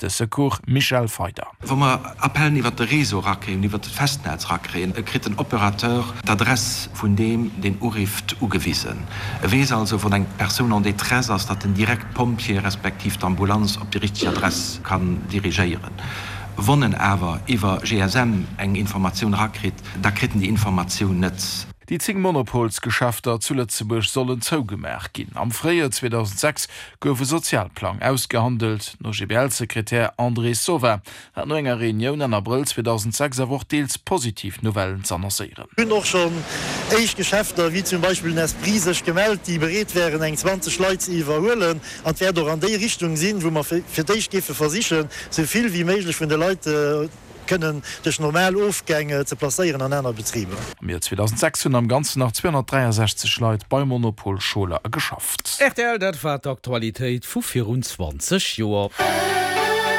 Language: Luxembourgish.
De Secours Michel Feyder. Wa mer Appellen iwwert de Réseau erakréien, iwwert d'Festnetz erakréien, kritt den Opérateur d'Adress vun deem, deen urifft, ugewisen. E weess also, wann eng Persoun en détresse ass, datt en direkt d'Pompjeeë respektiv d'Ambulanz op déi richteg Adress kann dirigéieren. Wann en awer iwwer GSM eng Informatioun erakritt, da kritt en déi Informatioun net. Déi 10 Monopolsgeschäfter zu Lëtzebuerg sollen zougemaach ginn. Am Fréijoer 2006 gouf e Sozialplang ausgehandelt. Den OGBL-Sekretär André Sova hat no enger Reunioun Enn Abrëll 2006 awer och deels positiv Nouvellen z'annoncéieren. Hunn och schonn éischt Geschäfter, wéi zum Beispill den Esprit, sech gemellt, déi bereet wären eng 20 Leit ze iwwerhuelen. An et wäert och an déi Richtung sinn, wou mer fir d'éischt géife versichen, esou vill wéi méiglech vun de Leit, kënnen duerch normal Ofgäng ze placéieren an aner Betriber. Am Joer 2006 hunn am Ganzen nach 263 Leit bei Monopol Scholer geschafft. Rtl, dat war d'Aktualitéit vu virun 20 Joer.